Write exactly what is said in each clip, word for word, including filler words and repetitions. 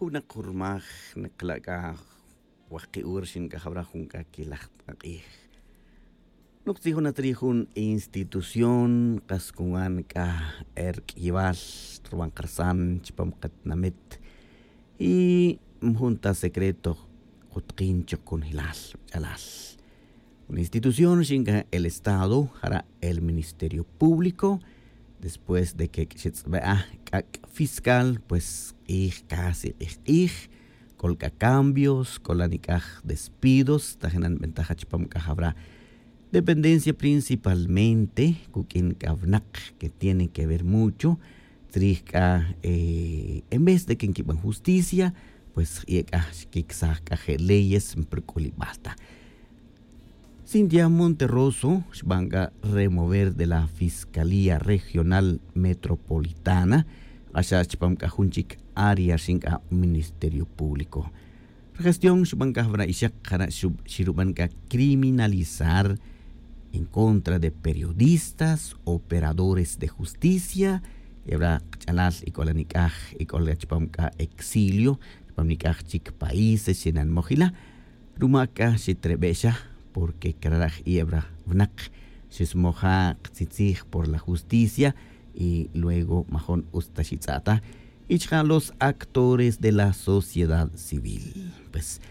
Nak jurmaj, nak la' c'a wajki' hora xin c'a jawra jun c'a quilaj t'ak'ij. Nok tzij jun atzri' jun institución kas cuan c'a erq'uiyabal ruban karsan chupam katinamit. Y majun ta secreto kutkin chuk conjelal ch'alal. Una institución xin c'a el estado jara' el ministerio público. Después de que xetz'abe'aj c'ac' fiscal pues k'ij casi k'ij k'ij. C'ol c'a cambios c'ol la nic'aj despidos tajinan bentaja chupam c'a jawra dependencia principalmente cuq'uin c'a winak que tienen que ver mucho tzrij c'a en vez de que nquiban justicia pues y c'a xquicsaj c'a je' leyes npurc'ulibal ta. Cintia Monterroso xban c'a remover de la fiscalía regional metropolitana k'axa' chupam c'a jun chic área rixin c'a ministerio público. Regestión xban c'a jawra ixak jara' xiruban c'a criminalizar en contra de periodistas operadores de justicia. Yawra kach'alal y c'o la nic'aj y c'o la chupam c'a exilio chupam nic'aj chic países xenan mojila. Ruma c'a xetrebe' xa porque craraj y yawra winak xesmoja ktzitzij por la justicia y luego majon utz ta xitz'a' ta y chaka' los actores de la sociedad civil. Pues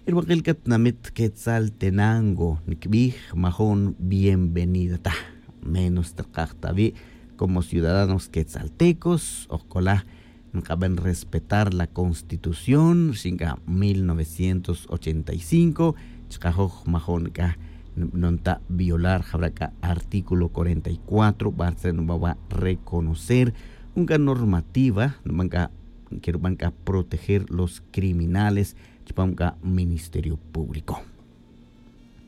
y rubakil catinamit quetzaltenango nicbij majon bienvenida ta menos takaj ta wi' como ciudadanos quetzaltecos o c'ola nkaben respetar la constitución rixin c'a mil novecientos ochenta y cinco. Chakajoj majon c'a nbanon ta violar jawra c'a artículo cuarenta y cuatro bartzre' nubawa' reconocer jun c'a normativa nuban c'a que ruban c'a proteger los criminales chupam c'a ministerio público.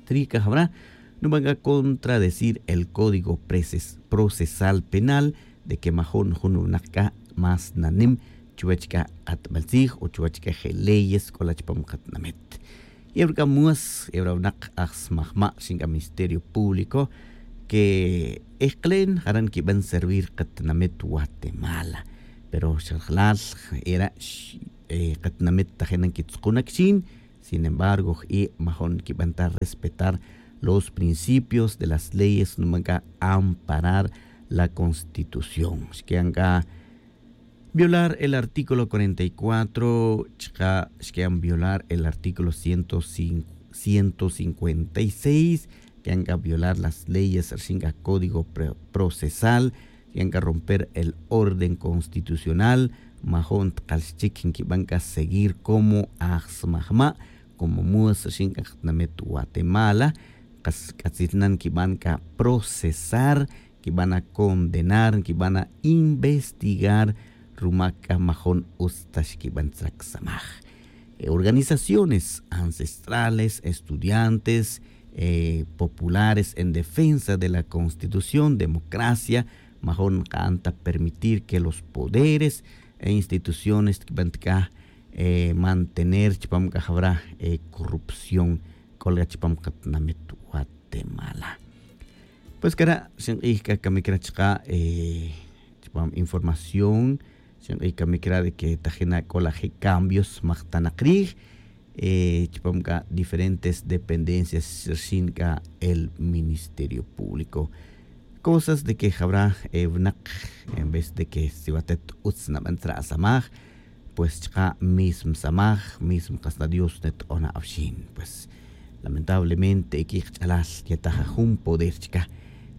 Trij c'a jawra nuban c'a contradecir el código procesal penal de que majon jun winak c'a más nanim chuwech c'a k'atbel tzij o chuwech c'a je' leyes c'o la chupam katinamit. Yawra c'a mues yawra winak aj smajma' rixin c'a ministerio público que ejkelen jara' nquiben servir katinamit guatemala. Pero xa rajlal era katinamit tajinan quitzukun na quixin. Sin embargo j'i' majon nquiben ta respetar los principios de las leyes nuban c'a amparar la constitución xquian c'a violar el artículo cuarenta y cuatro chaka' xquian violar el artículo ciento cincuenta y seis. Xquian c'a violar las leyes rixin c'a código procesal. Xquian c'a romper el orden constitucional. Majon tkal xchic nquiban c'a seguir como aj smajma' como mues rixin c'a katinamit guatemala. Kas c'atzil nan nquiban c'a procesar nquiban a condenar nquiban a investigar ruma c'a majon utz ta xquiben tzra csamaj. Organizaciones ancestrales estudiantes populares en defensa de la constitución democracia majon nka'an ta permitir que los poderes e instituciones tquiben ta c'a mantener chupam c'a jawra corrupción c'o la chupam katinamit guatemala. Pues cara' xink'ij c'a camic ra chaka' chupam información xink'ij camic ra de que tajina c'o la je' cambios majtanak rij chupam c'a diferentes dependencias rxin c'a el ministerio público. Cosas de que jawra winak en vez de que si watet utz naben tzra' samaj pues chaka' mismo samaj mismo kas na dios neto'on awxin pues lamentablemente equic kach'alal nyetaj ajun poder chaka'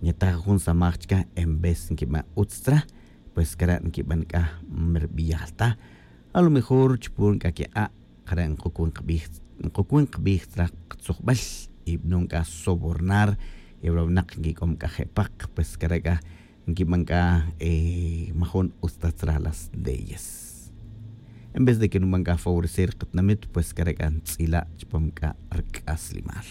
nyetaj ajun samaj chaka' en vez nquiben utz tzra' pues cara' nquiben c'a merbiyal ta. A lo mejor chupun c'a quik'a' jare' nk'ucun kbij tzra' ktzujbel y bnon c'a sobornar y awra winak nquic'om c'a je' pak pues care' c'a nquiben c'a majun utz ta tzra' las leyes. En vez de que nuben c'a favorecer katinamit pues care' c'a ntz'ila' chupam c'a rc'aslimal.